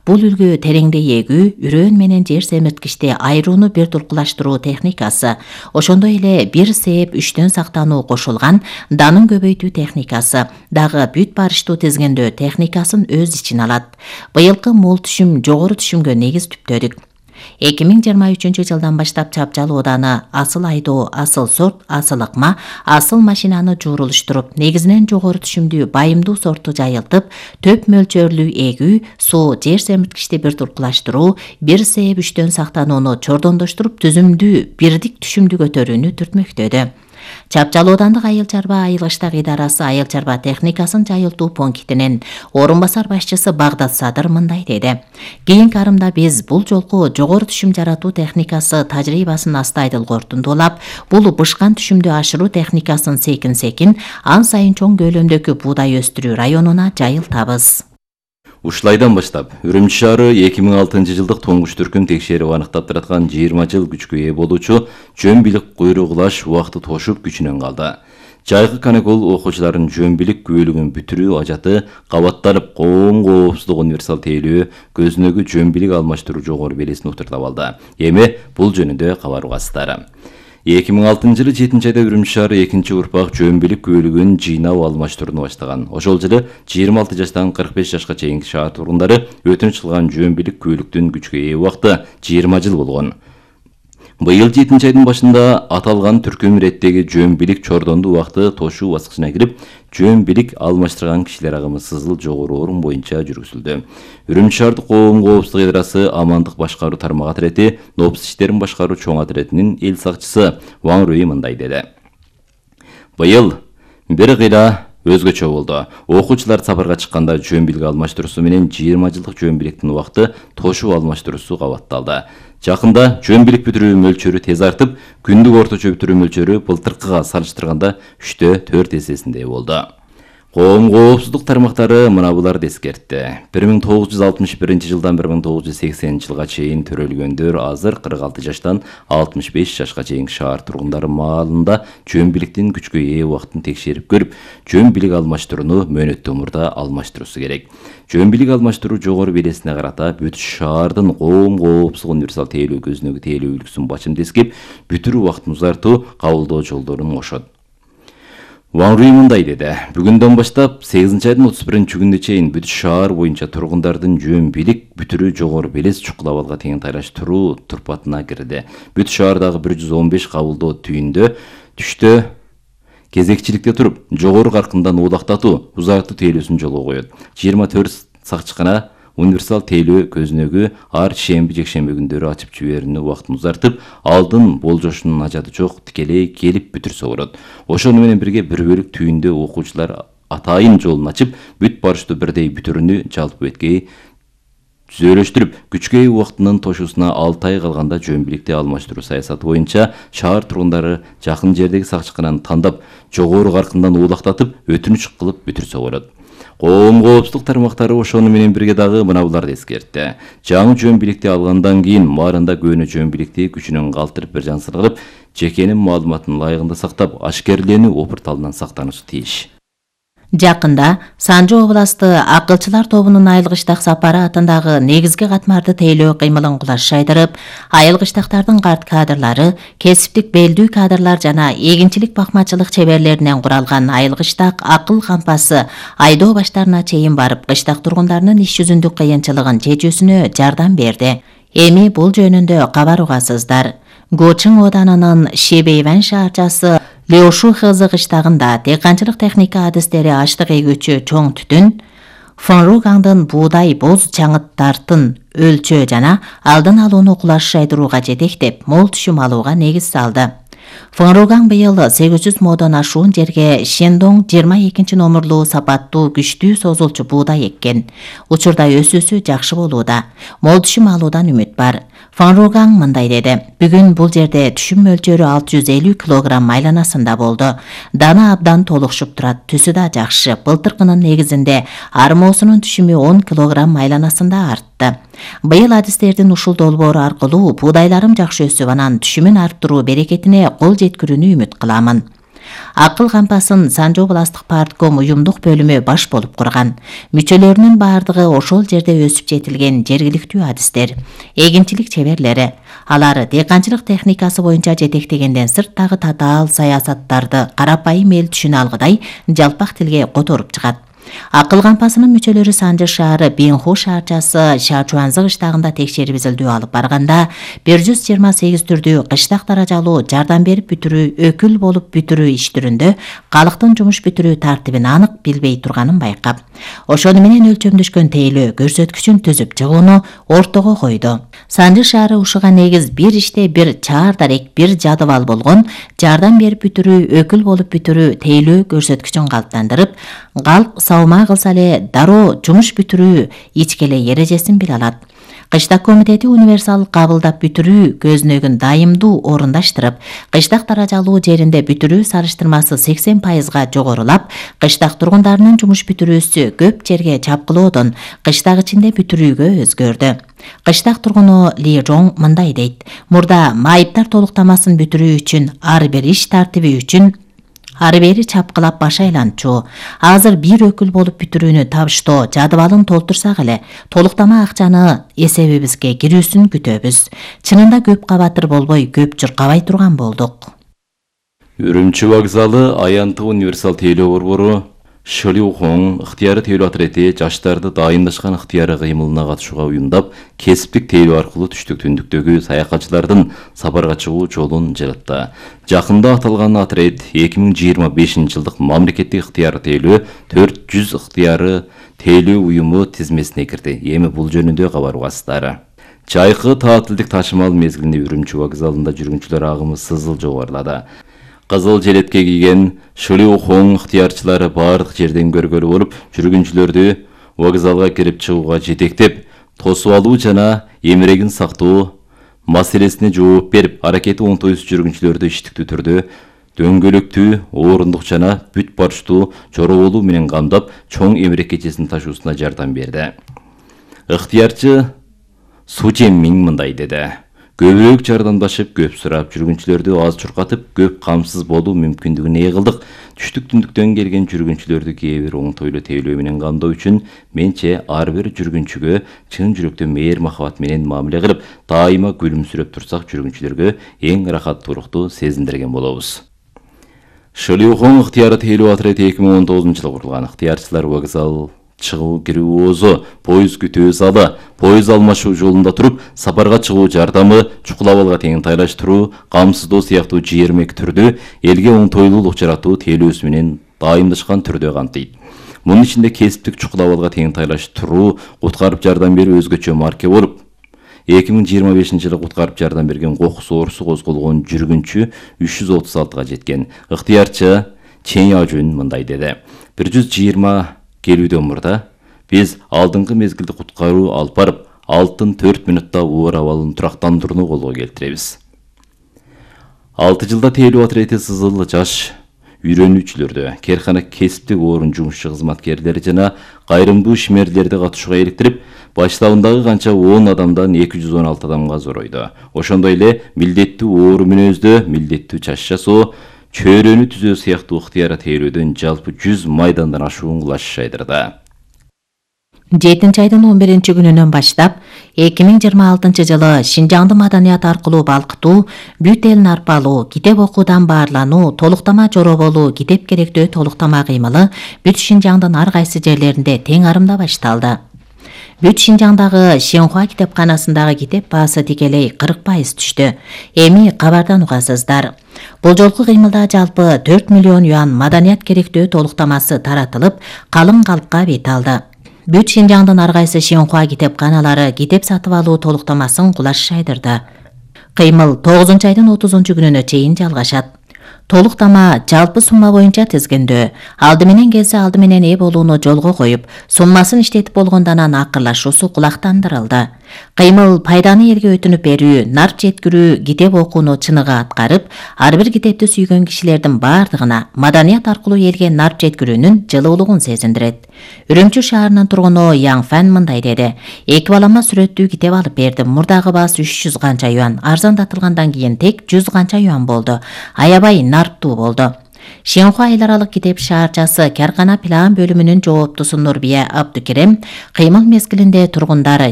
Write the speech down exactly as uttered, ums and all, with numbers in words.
Бул үлгү тереңде эгүү, үрөөн менен жер семирткичти айрууну бир туркулаштыруу техникасы, ошондой эле бир сээп үчтөн сактануу кошулган данын көбөйтүү техникасы дагы бүт барыштуу тизгиндөө техникасын өз ичине алат. Быйылкы мол түшүм жогору түшүмгө негиз түптөдүк. эки миң жыйырма үчүнчү жылдан баштап Чапчал ооданы асыл айдоо, асыл сорт, асыл ыкма, асыл машинаны жуурулуштуруп, негизинен жогору түшүмдүү байымдуу сорту жайылтып, төп мөлчөрлүү эгүү, суу, жер семирткичти бир туркулаштыруу, бир сээп үчтөн сактанууну чордондоштуруп, түзүмдүү, бирдик түшүмдү көтөрүүнү түртмөктөдү. Чапчал оодандык айыл чарба айылгыштак идарасы айыл чарба техникасын жайылтуу пунктинин орун басар башчысы Багдат Садыр мындай деди. Кийинки арымда биз бул жолку жогору түшүм жаратуу техникасы тажрыйбасын астайдыл корутундуулап, бул бышкан түшүмдү ашыруу техникасын секин-секин ан сайын чоң көлөмдөгү буудай өстүрүү районуна жайылтабыз. Ушулайдан баштап, Үрүмчү шаары эки миң алтынчы жылдык туңгуч түркүн текшерип аныктап тараткан жыйырма жыл күчкө ээ болуучу жөн билик куйругулаш убакыты тошуп күчүнөн калды. Жайкы каникул окуучулардын жөн билик күбөлүгүн бүтүрүү ажаты кабатталып, коом коопсуздук универсал тейлөө, көзүнөгү жөн билик алмаштыруу жогору белесин утуртап алды. Эми бул жөнүндө кабар угасыздар. эки миң алтынчы жылы жетинчи айда Үрүмчү шаары экинчи урпак жөн билик күбөлүгүн жыйнап алмаштырууну баштаган. Ошол жылы жыйырма алты жаштан кырк беш жашка чейинки шаар тургундары өтүнүч кылган жөн билик күбөлүктүн күчкө ээ убакыты жыйырма жыл болгон. Быйыл жетинчи айдын башында аталган түркүм иреттеги жөн билик чордондуу убакыты тошуу баскычына кирип, жөн билик алмаштырган кишилер агымы сызыл жогору орун боюнча жүргүзүлдү. Үрүмчү шаардык коом коопсуздук идарасы амандык башкаруу тармак атрети, нопс иштерин башкаруу чоң атретинин эл сакчысы Ван Руи мындай деди. Быйыл бир кыйла өзгөчө болду. Окуучулар сапарга чыкканда жөн билик алмаштыруусу менен жыйырма жылдык жөн биликтин убакыты тошуу алмаштыруусу кабатталды. Жакында жөн билик бүтүрүү мөлчөрү тез артып, күндүк орточо бүтүрүү мөлчөрү былтыркыга салыштырганда үчтө төрт эсесиндей болду. Коом коопсуздук тармактары мына буларды эскертти. бир миң тогуз жүз алтымыш биринчи жылдан бир миң тогуз жүз сексенинчи жылга чейин төрөлгөндөр азыр кырк алты жаштан алтымыш беш жашка чейинки шаар тургундары маалында жөн биликтин күчкө ээ убактын текшерип көрүп, жөн билик алмаштырууну мөөнөттүү мурда алмаштыруусу керек. Жөн билик алмаштыруу жогору белесине карата бүт шаардын коом коопсуздук универсал тейлөө көзүнөгү тейлөө үлгүсүн бачымды эскеп, бүтүрүү убактын узартуу, кабылдоо жолдорун кошот. Ван Руи мындай деди. Бүгүндөн баштап сегизинчи айдын отуз биринчи күнүнө чейин бүт шаар боюнча тургундардын жөн билик бүтүрүү жогору белес чукул абалга тең тайлаштыруу турпатына кирди. Бүт шаардагы бир жүз он беш кабылдоо түйүндө түштө кезекчиликте туруп, жогору каркындан уулактатуу, узартуу тейлөөсүн жолго коет. жыйырма төрт сакчыкана универсал тейлөө көзүнөгү ар шемби жекшемби күндөрү ачып жиберүүнү убактын узартып, алдын болжошунун ажаты жок, тикелей келип бүтүрсө болот. Ошону менен бирге бир бөлүк түйүндө окуучулар атайын жолун ачып, бүт барыштуу бирдей бүтүрүүнү жалпы беткей түзөлөштүрүп, күчкө ээ убактынын тошуусуна алты ай калганда жөн биликти алмаштыруу саясаты боюнча шаар тургундары жакын жердеги сакчыкананы тандап, жогору каркындан уулактатып, өтүнүч кылып бүтүрсө болот. Коом коопсуздук тармактары ошону менен бирге дагы мына буларды эскертти. Жаңы жөн биликти алгандан кийин баарында көөнө жөн биликти күчүнөн калтырып бир жансыргырып, жекенин маалыматын ылайыгында сактап, ашкерленүү опурталынан сактануусу тийиш. Жакында Санжы областы акылчылар тобунун айылгыштак сапары атындагы негизги катмарды тейлөө кыймылын кулаш жайдырып, айылгыштактардын карт кадрлары, кесиптик белдүү кадрлар жана эгинчилик бакмачылык чеберлеринен куралган айылгыштак акыл кампасы айдоо баштарына чейин барып, кыштак тургундарынын иш жүзүндүк кыйынчылыгын чечүүсүнө жардам берди. Эми бул жөнүндө кабар угасыздар. Гочың оданынын Шебейван шаарчасы Леошу Хызы кыштагында дыйканчылык техника адистери аштык эгүүчү чоң түтүн, Фонругаңдын буудай боз чаңыттартын өлчөө жана алдын алууну кулаш жайдырууга жетектеп, мол түшүм алууга негиз салды. Фонругаң быйыл сегиз жүз модон ашуун жерге Шендоң жыйырма экинчи номурлуу сапаттуу күчтүү созулчу буудай эккен. Учурда өсүүсү жакшы болууда. Мол түшүм алуудан үмүт бар. Фонругаң мындай деди. Бүгүн бул жерде түшүм мөлчөрү алты жүз элүү килограмм айланасында болду. Дана абдан толукшуп турат, түсү да жакшы. Былтыркынын негизинде армоосунун түшүмү он килограмм айланасында артты. Быйыл адистердин ушул долбоору аркылуу буудайларым жакшы өсүп, анан түшүмүн арттыруу берекетине кол жеткирүүнү үмүт кыламын. Акыл кампасын Санжы областык партком уюмдук бөлүмү баш болуп курган. Мүчөлөрүнүн бардыгы ошол жерде өсүп жетилген жергиликтүү адистер, эгинчилик чеберлери. Алар дыйканчылык техникасы боюнча жетектегенден сырт дагы татаал саясаттарды карапайым эл түшүнө алгыдай жалпак тилге которуп чыгат. Акыл кампасынын мүчөлөрү Санжы шаары Бенху шаарчасы Шачуанзы кыштагында текшерип изилдөө алып барганда бир жүз жыйырма сегиз түрдүү кыштак даражалуу жардам берип бүтүрүү, өкүл болуп бүтүрүү иш түрүндө калктын жумуш бүтүрүү тартибин анык билбей турганын байкап, ошону менен өлчөмдөшкөн тейлөө көрсөткүчүн түзүп чыгууну ортого койду. Санжы шаары ушуга негиз бир иште бир чаар дарек, бир жадыбал болгон жардам берип бүтүрүү, өкүл болуп бүтүрүү тейлөө көрсөткүчүн калыптандырып, калк саумаа кылса эле дароо жумуш бүтүрүү ичкеле эрежесин биле алат. Кыштак комитети универсал кабылдап бүтүрүү көзүнөгүн дайымдуу орундаштырып, кыштак даражалуу жеринде бүтүрүү салыштырмасы сексен пайызга жогорулап, кыштак тургундарынын жумуш бүтүрүүсү көп жерге чапкылоодон кыштак ичинде бүтүрүүгө өзгөрдү. Кыштак тургуну Ли Жонг мындай дейт: мурда майыптар толуктамасын бүтүрүү үчүн ар бир иш тартиби үчүн ары бери чапкылап баш айланчу. Азыр бир өкүл болуп бүтүрүүнү табыштоо жадыбалын толтурсак эле, толуктама акчаны эсебибизге кирүүсүн күтөбүз. Чынында көп кабатыр болбой, көп жыркабай турган болдук. Үрүмчү вокзалы аянтык универсал тейлөө борбору Шылиухоң ыктыяры тейлөө отряди жаштарды дайындашкан ыктыяры кыймылына катышууга уюмдап, кесиптик тейлөө аркылуу түштүк түндүктөгү саякатчылардын сапарга чыгуу жолун жаратты. Жакында аталган отряд эки миң жыйырма бешинчи жылдык мамлекеттик ыктыяры тейлөө төрт жүз ыктыяры тейлөө уюму тизмесине кирди. Эми бул жөнүндө кабар угасыздар. Жайкы таатилдик ташымал мезгилинде Үрүмчү вокзалында жүргүнчүлөр агымы сызыл жогорулады. Кызыл желетке кийген Шылиухоң ыктыярчылары бардык жерден көргөлүү болуп, жүргүнчүлөрдү вокзалга кирип чыгууга жетектеп, тосуп алуу жана эмерегин сактоо маселесине жооп берип, аракети оңтойсуз жүргүнчүлөрдү иштиктүү түрдө дөңгөлөктүү, орундук жана бүт барчтуу жороболуу менен камдап, чоң эмерек кечесин ташуусуна жардам берди. Ыктыярчы Су Жеммиң мындай деди: көбүрөөк жардамдашып, көп сурап, жүргүнчүлөрдү аз чуркатып, көп камсыз болуу мүмкүндүгүн ээ кылдык. Түштүк түндүктөн келген жүргүнчүлөрдү кээ бир оңтойлуу тейлөө менен камдоо үчүн менче ар бир жүргүнчүгө чын жүрөктөн мээр махабат менен мамиле кылып, дайыма күлүмсүрөп турсак, жүргүнчүлөргө эң ырахаттуулукту сезиндирген болобуз. Шылиухоң ыктыяры тейлөө отряди эки миң он тогузунчу жылы курулган. Ыктыярчылар вокзал чыгуу кирүү оозу, поезд күтүү залы, поезд алмашуу жолунда туруп, сапарга чыгуу жардамы, чукулабалга теңтайлаштыруу, камсыздоо сыяктуу жыйырма эки түрдүү элге оңтойлуулук жаратуу тейлөөсү менен дайымдашкан түрдө камтыйт. Мунун ичинде кесиптик чукулабалга теңтайлаштыруу, куткарып жардам берүү өзгөчө марке болуп, эки миң жыйырма бешинчи жылы куткарып жардам берген кокус оорусу козголгон жүргүнчү үч жүз отуз алтыга жеткен. Ыктыярчы Чен Яжун мындай деди: бир жүз жыйырма келүүдөн мурда биз алдыңкы мезгилде куткаруу алып барып, алтын төрт минутта оор абалын турактандырууну колго келтиребиз. алты жылда тейлөө отряди сызыл жаш үйрөнүүчүлөрдү, керкана кесиптик орун жумушчу кызматкерлери жана кайрымдуу ишмерлерди катышууга иликтирип, баштабындагы канча он адамдан эки жүз он алты адамга зоройду. Ошондой эле милдеттүү оору мүнөздө, милдеттүү чач жасоо, чөйрөнү түзөө сыяктуу ыктыяры тейлөөдөн жалпы жүз майдандан ашуун кулаш шайдырды. жетинчи айдын он биринчи күнүнөн баштап эки миң жыйырма алтынчы жылы Шинжаңды маданият аркылуу балкытуу, бүт элин арпалуу, китеп окуудан баарлануу, толуктама жороболуу, китеп керектөө толуктама кыймылы бүт Шинжаңдын ар кайсы жерлеринде тең арымда башталды. Бүт Шинжаңдагы Шенхуа китепканасындагы китеп баасы тикелей кырк пайыз түштү. Эми кабардан угасыздар. Бул жолку кыймылда жалпы төрт миллион юан маданият керектөө толуктамасы таратылып, калың калпка бет алды. Бүт Шинжаңдын ар кайсы Шенхуа китепканалары китеп сатып алуу толуктамасын кулаш шайдырды. Кыймыл тогузунчу айдын отузунчу күнүнө чейин жалгашат. Толуктама жалпы сумма боюнча тизгиндөө, алды менен келсе алды менен ээ болууну жолго коюп, суммасын иштетип болгондон анан акырлашуусу кулактандырылды. Кыймыл пайданы элге өтүнүп берүү, нарп жеткирүү, китеп окууну чыныгы аткарып, ар бир китепти сүйгөн кишилердин бардыгына маданият аркылуу элге нарп жеткирүүнүн жылуулугун сезиндирет. Үрүмчү шаарынын тургуну Яң Фан мындай деди: эки балама сүрөттүү китеп алып бердим. Мурдагы баасы үч жүз канча юан, арзандатылгандан кийин тек жүз канча юан болду. Аябай нарптуу болду. Шенхуа айыл аралык Китеп шаарчасы Каркана план бөлүмүнүн жооптусу Нурбия Абдукерем кыймыл мезгилинде тургундары